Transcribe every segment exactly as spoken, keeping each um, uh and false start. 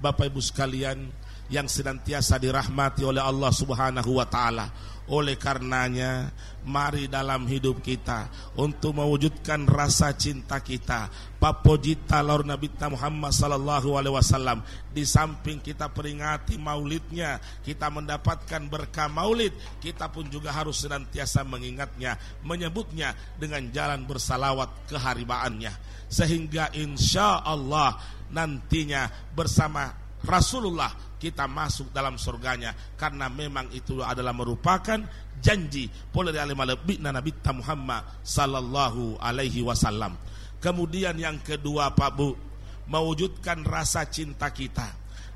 Bapak Ibu sekalian yang senantiasa dirahmati oleh Allah Subhanahu wa Ta'ala, oleh karenanya, mari dalam hidup kita untuk mewujudkan rasa cinta kita, pappojitta lao ri Nabitta Muhammad sallallahu alaihi wasallam. Di samping kita peringati maulidnya, kita mendapatkan berkah maulid, kita pun juga harus senantiasa mengingatnya, menyebutnya dengan jalan bersalawat keharibaannya. Sehingga insya Allah nantinya bersama Rasulullah kita masuk dalam surganya, karena memang itu adalah merupakan janji pole ri ale malebbi'na Nabitta Muhammad sallallahu alaihi wasallam. Kemudian yang kedua, Pak Bu, mewujudkan rasa cinta kita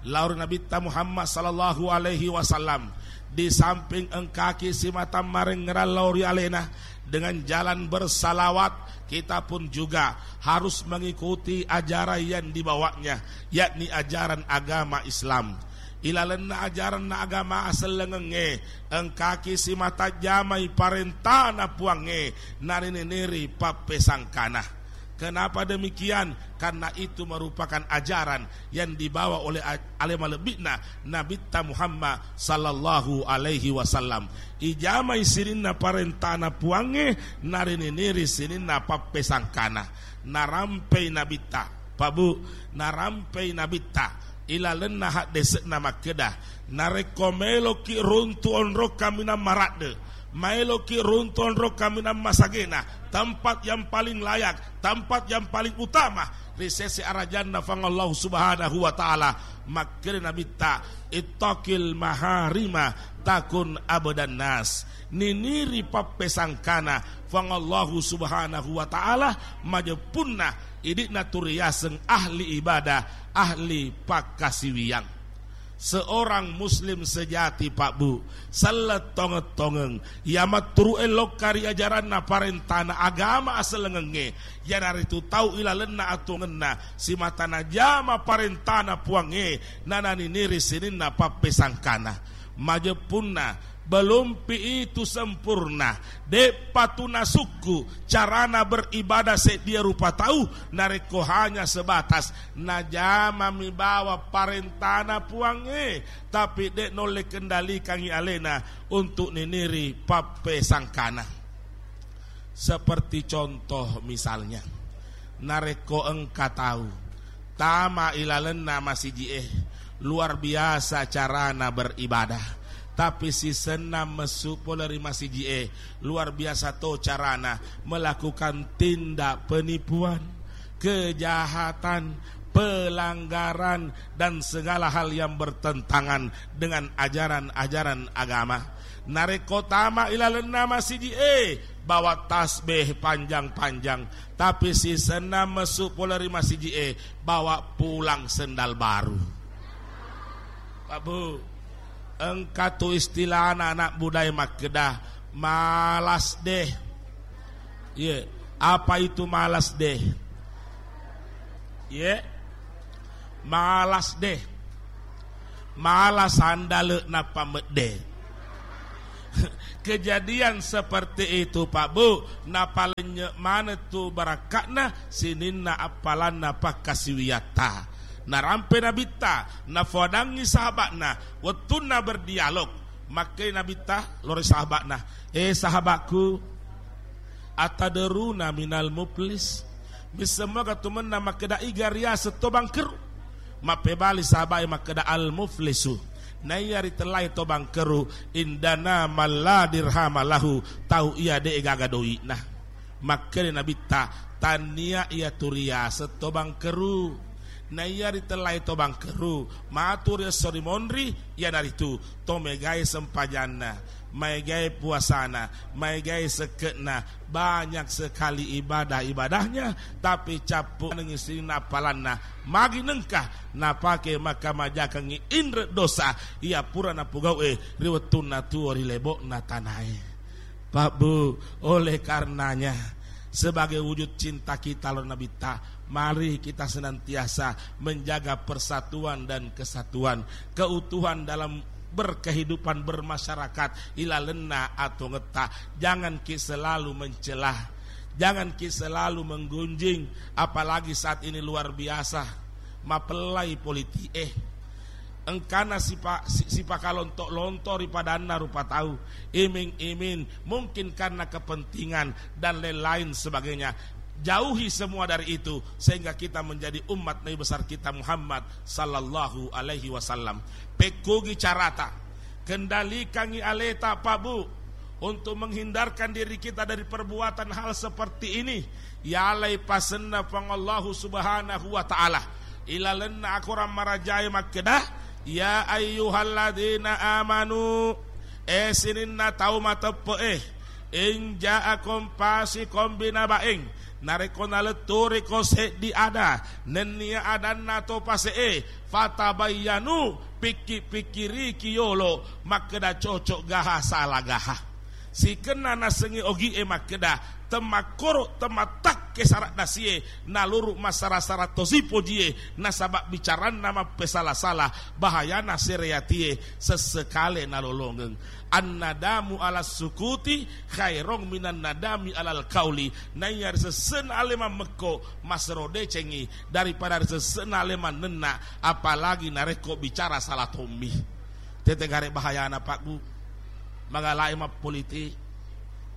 lao ri Nabitta Muhammad sallallahu alaihi wasallam. Di samping engkaki simata marengngerang lao ri alena dengan jalan bersalawat, kita pun juga harus mengikuti ajaran yang dibawanya, yakni ajaran agama Islam. Ilalenna ajaranna agama asellengengnge, engkaki simata jamai parentana Puangnge, narineneri pappesangkana. Kenapa demikian? Karena itu merupakan ajaran yang dibawa oleh a-, ale malebbi'na Nabitta Muhammad sallallahu alaihi wasallam. Ijamai sininna parentana Puangnge, narineneri sininna pappesangkana. Narampei Nabitta, Pak Bu, narampei Nabitta ilalenna haddese'na makkeda, narekko maeloki runtu onrong kaminang maradde, maeloki runtu onrong kaminang masagena, tempat yang paling layak, tempat yang paling utama ri sese arajanna Puang Allah Subhanahu wa Ta'ala, makkeda Nabitta, "Ittaqil maharima takun abdan nas." Niniri pappesangkana Puang Allah Subhanahu wa Ta'ala, majeppunna idi'na tu riaseng ahli ibadah, ahli pakkasiwiang. Seorang muslim sejati, Pak Bu, selleng tongeng-tongeng, iya matturu'e lokka ri ajaranna parentana agama asellengengnge, iyanaritu tau ilalenna atuwongenna simata najama parentana Puangnge, nananiniri sininna pappesangkana. Majeppunna, belumpi itu sempurna, de'pa tu nasukku carana beribadah seddia rupa tau, narekko hanya sebatas najamami bawang parentana Puangnge, tapi de' naulle kendalikangngi alena untuk niniri pappesangkana. Seperti contoh misalnya, narekko engka tau tama ilalenna masiji'e, luar biasa carana beribadah, tapi sisenna messu pole ri masiji'e, luar biasa to carana melakukan tindak penipuan, kejahatan, pelanggaran, dan segala hal yang bertentangan dengan ajaran-ajaran agama. Narekko tama ilalenna masiji'e, bawa tasbih panjang-panjang, tapi sisenna messu pole ri masiji'e, bawa pulang sendal baru. Pak Bu, engka tu istilahna anak mudae makkeda, malas deh. Ye, apa itu malas deh? Ye, malas deh. Malas sandale nappa medde. Kejadian seperti itu, Pak Bu, napalennye maneng tu barakka'na sininna appalanna pakkasiwiyatta. Narampe Nabitta, nafoadangngi sahaba'na, wettunna berdialog. Makkei Nabitta lori sahaba'na, "Eh, sahaba'ku, atadaruna minal muflis?" Misseng moga tu mennang makkeda iga riaseng to bangkeru? Mappebali sahaba'e makkeda, "Al muflisu, naiya ritellai to bangkeru, indana man la dirhama lahu, tau iya de' gaga doi'na." Makkeda Nabitta, "Tannia iya tu riaseng to bangkeru. Naiya ritellai to bangkeru, matu ri esso ri monri, iyanaritu to megai sempajanna, maegai puasana, maegai sekke'na, banyak sekali ibadah-ibadahnya, tapi cappu nengngi sininna appalanna, magi nengka napake makkamajakengngi inre' dosa iya pura napogau'e ri wettunna tuo ri lebo'na tanae." Pak Bu, oleh karenanya, sebagai wujud cinta kita lao Nabitta, mari kita senantiasa menjaga persatuan dan kesatuan, keutuhan dalam berkehidupan bermasyarakat ilalenna atuwongetta. Jangan ki selalu mencela, jangan ki selalu menggunjing, apalagi saat ini luar biasa mapellai politik eh. Engkana sipa-, si-, sipakalonto-lonto ri padanna rupa tau, iming-iming, mungkin karena kepentingan dan lain-lain sebagainya. Jauhi semua dari itu, sehingga kita menjadi umat Nabi besar kita Muhammad sallallahu alaihi wasallam. Pekkugi carata, kendalikangi aleta, Pak Bu, untuk menghindarkan diri kita dari perbuatan hal seperti ini. Yalai pasenna Puang Allahu Subhanahu wa Ta'ala ilalenna akorang marajae makkeda, "Ya ayyuhalladzina amanu, eh sininna tau mateppe'e, in ja'akum fasiqun binaba'in, narekko naletturiko seddi ada, nennia adanna to pase'e, fatabayyanu, pikki-pikkiriki yolo, makkeda cocok gaha, sala gaha." Sikenna nasengngi ogi'e makkeda, temmakkoro temmattakke sara'dasie, naluru massara-sara tosi pojie, nasaba bicaranna mappesala-sala, bahayana sereatie sessekale nalolongeng. Annadamu ala sukuti khairong minan nadami alal kauli. Naiya ri sesse'na ale mammekko, masero decengngi daripada ri sesse'na ale mannenna, apalagi narekko bicara sala tommi. Tete gare bahayana, Pak Bu. Magalai mappolitik,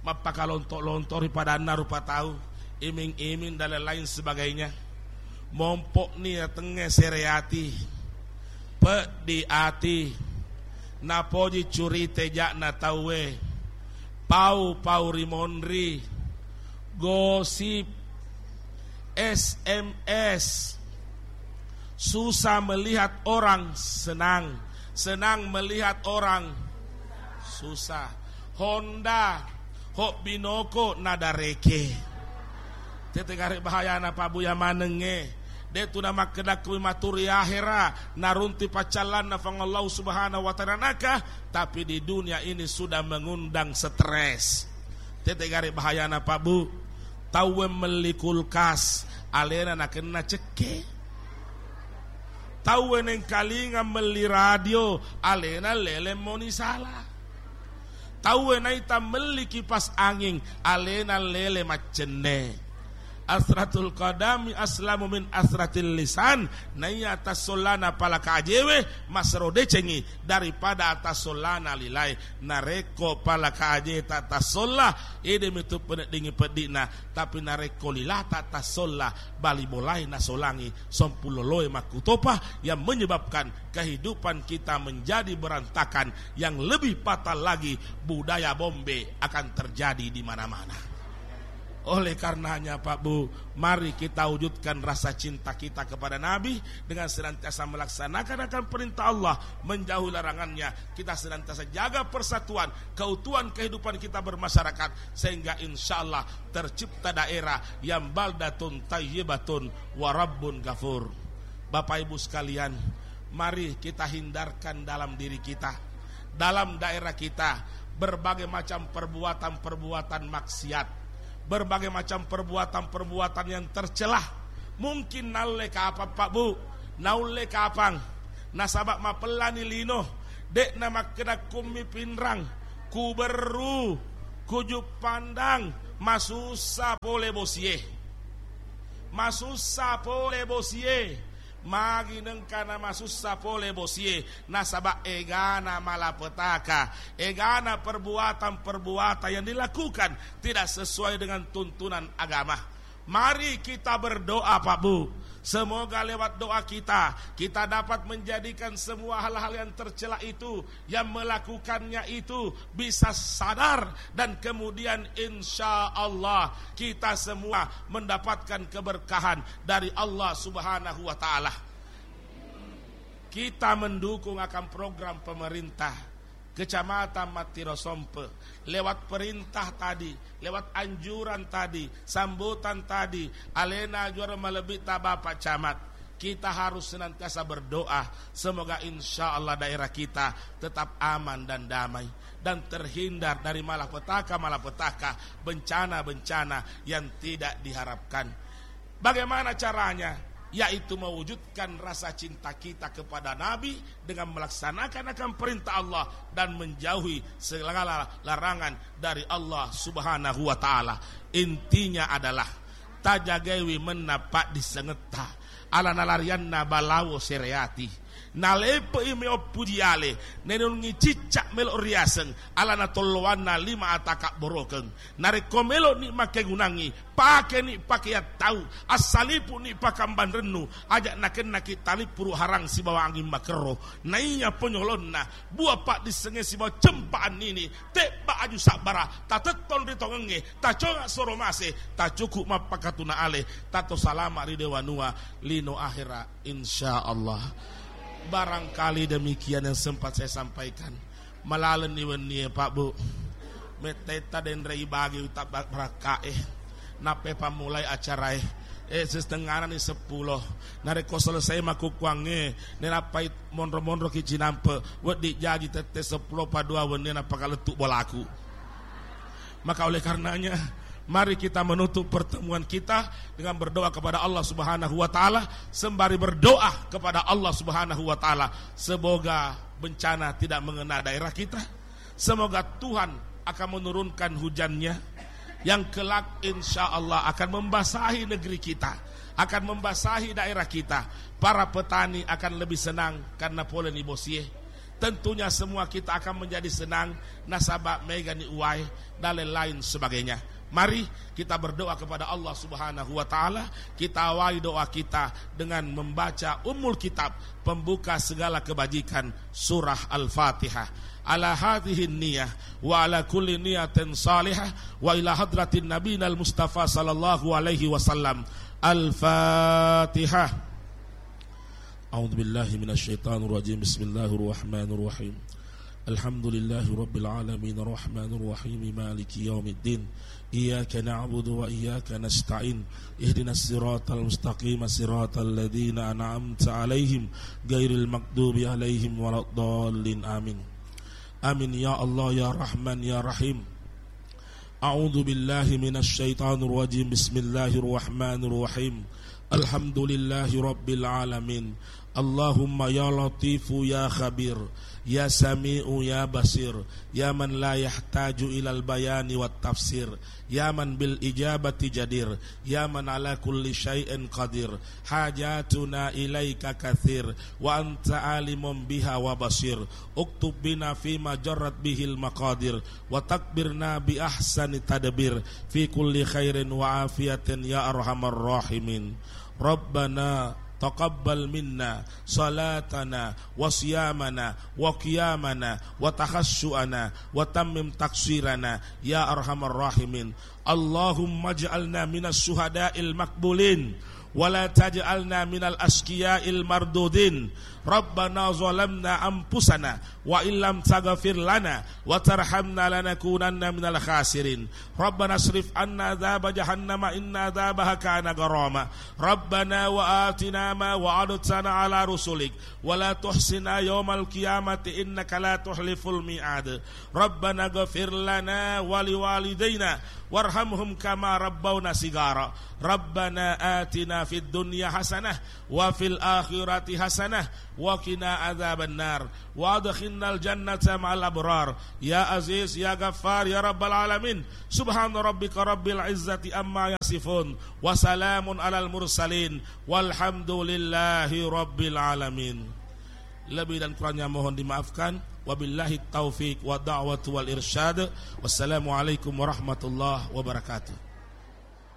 mappakalonto-lonto ri padanna rupa tau, iming-iming dan lain-lain sebagainya. Mompo'ni yatengnge sereati, peddi ati, napoji curite ja'na tauwe, pau-pau ri monri, gosip, S M S. Susah melihat orang senang, senang melihat orang susah. Honda, hobbi noko nadareke. Tete gare bahayana, Pak Bu, ya manengnge. De tu namakkeda kui maturi ahera, narunti paccallanna Puang Allah Subhanahu wa Ta'ala naka, tapi di dunia ini sudah mengundang stres. Tete gare bahayana, Pak Bu. Tauwe melli kulkas, alena nakenna cekke. Tauwe nengkalinga melli radio, alena lele moni sala. Tauwe naita melli kipas angin, alena lele maccenne. Asratul qadami aslamu min asratil lisan. Naiya tassollana palaka ajewe masero decengi daripada tassollana lilae. Narekko palaka ajeta tassolla, ede mitu peneddingi peddi'na. Tapi narekko lilata tassolla, bali bolae nasolangi, sompuloloe makkutopa yang menyebabkan kehidupan kita menjadi berantakan, yang lebih fatal lagi budaya bombe akan terjadi di mana-mana. Oleh karenanya, Pak Bu, mari kita wujudkan rasa cinta kita kepada Nabi dengan senantiasa melaksanakan akan perintah Allah, menjauhi larangannya. Kita senantiasa jaga persatuan, keutuhan kehidupan kita bermasyarakat, sehingga insya Allah tercipta daerah yang baldatun tayyibatun wa rabbun ghafur. Bapak Ibu sekalian, mari kita hindarkan dalam diri kita, dalam daerah kita, berbagai macam perbuatan-perbuatan maksiat, berbagai macam perbuatan-perbuatan yang tercela. Mungkin naulle kapang, Pak Bu, naulle kapang, nasaba mapellani lino, de'na makkeda kummi pinrang, kuberru, kujuppandang, masussa pole bosie. Masussa pole bosie. Magi nengkana masussa pole bosie, nasaba egana malapetaka, egana perbuatan-perbuatan yang dilakukan tidak sesuai dengan tuntunan agama. Mari kita berdoa, Pak Bu. Semoga lewat doa kita, kita dapat menjadikan semua hal-hal yang tercela itu, yang melakukannya itu bisa sadar, dan kemudian insya Allah kita semua mendapatkan keberkahan dari Allah Subhanahu wa Ta'ala. Kita mendukung akan program pemerintah Kecamatan Mattiro Sompe, lewat perintah tadi, lewat anjuran tadi, sambutan tadi, alena juara malebbi ta Bapak Camat. Kita harus senantiasa berdoa, semoga insya Allah daerah kita tetap aman dan damai, dan terhindar dari malapetaka-malapetaka, bencana-bencana yang tidak diharapkan. Bagaimana caranya? Yaitu mewujudkan rasa cinta kita kepada Nabi dengan melaksanakan akan perintah Allah dan menjauhi segala larangan dari Allah Subhanahu wa Ta'ala. Intinya adalah, tajagaiwi mennappa disengetta, ala nalarianna balawo sereati. Nalepe'i meo puji ale, nenungi cicca melo riaseng, alana tolloanna lima ata kabborokeng. Narekko meloni makkegunangngi, pakeni pakeang tau, assalipu'ni pakambanrennu, aja nakennaki talippuru harang sibawa anging makerro. Naiya ponyolonna, bua paddissengnge sibawa cempa annini, tebba aju sabbara, tatettong ri tongengnge, taconga soro mase, tacuku mappakatuna ale, tato salama ri dewanua, lino ahera, insyaallah. Barangkali demikian yang sempat saya sampaikan. Malalenni wennie, Pak, Bu. Mettetta denre ibagi utabba-, barakkae. Nappa pammulai acarae. Eh, setengahna ni seppulo. Narekko selesai makkukkuangnge, nenappai monro-monroki cinampe, wedding jaji tette seppulo pa dua wennie nappa kalettu bolaku. Maka oleh karenanya, mari kita menutup pertemuan kita dengan berdoa kepada Allah Subhanahu wa Ta'ala, sembari berdoa kepada Allah Subhanahu wa Ta'ala. Semoga bencana tidak mengena daerah kita. Semoga Tuhan akan menurunkan hujannya yang kelak insya Allah akan membasahi negeri kita, akan membasahi daerah kita. Para petani akan lebih senang karena poleni bosie. Tentunya semua kita akan menjadi senang nasaba megani uwae dan lain-lain sebagainya. Mari kita berdoa kepada Allah Subhanahu wa Ta'ala. Kita awali doa kita dengan membaca Ummul Kitab, pembuka segala kebajikan, surah Al-Fatihah. Ala hadhihi niyah wa ala kulli niyatin salihah wa ila hadratin nabiyina al-Mustafa sallallahu alaihi wasallam. Al-Fatihah. أعوذ بالله من الشيطان الرجيم. بسم الله الرحمن الرحيم. الحمد لله رب العالمين، الرحمن الرحيم، مالك يوم الدين. إياك نعبد وإياك نستعين. اهدنا الصراط المستقيم، صراط الذين أنعمت عليهم، غير المغضوب عليهم ولا الضالين. آمين. آمين يا الله يا رحمن يا رحيم. أعوذ بالله من الشيطان الرجيم. بسم الله الرحمن الرحيم. الحمد لله رب العالمين. اللهم يا لطيف يا خبير، يا سميع يا بصير، يا من لا يحتاج إلى البيان والتفسير، يا من بالإجابة جدير، يا من على كل شيء قدير، حاجاتنا إليك كثير، وأنت عالم بها وبصير. اكتب بنا فيما جرت به المقادير، وتكبرنا بأحسن تدبير في كل خير وعافية يا أرحم الراحمين. ربنا تقبل منا صلاتنا وصيامنا وقيامنا وتخشعنا وتمم تقصيرنا يا أرحم الراحمين. اللهم اجعلنا من الشهداء المقبولين ولا تجعلنا من الأشقياء المردودين. ربنا ظلمنا أنفسنا وإن لم تغفر لنا وترحمنا لنكونن من الخاسرين. ربنا اصرف عنا عذاب جهنم إن عذابها كان غراما. ربنا وآتنا ما وعدتنا على رسلك ولا تخزنا يوم القيامة إنك لا تخلف الميعاد. ربنا اغفر لنا ولوالدينا وارحمهم كما ربونا صغارا. ربنا آتنا في الدنيا حسنة وفي الآخرة حسنة وقنا عذاب النار وأدخلنا الجنة مع الأبرار يا عزيز يا غفار يا رب العالمين. سبحان ربك رب العزة عما يصفون وسلام على المرسلين والحمد لله رب العالمين. Lebih dan kurangnya mohon dimaafkan. Wabillahi taufiq wa da'watu wal irsyad. Wassalamualaikum warahmatullahi wabarakatuh.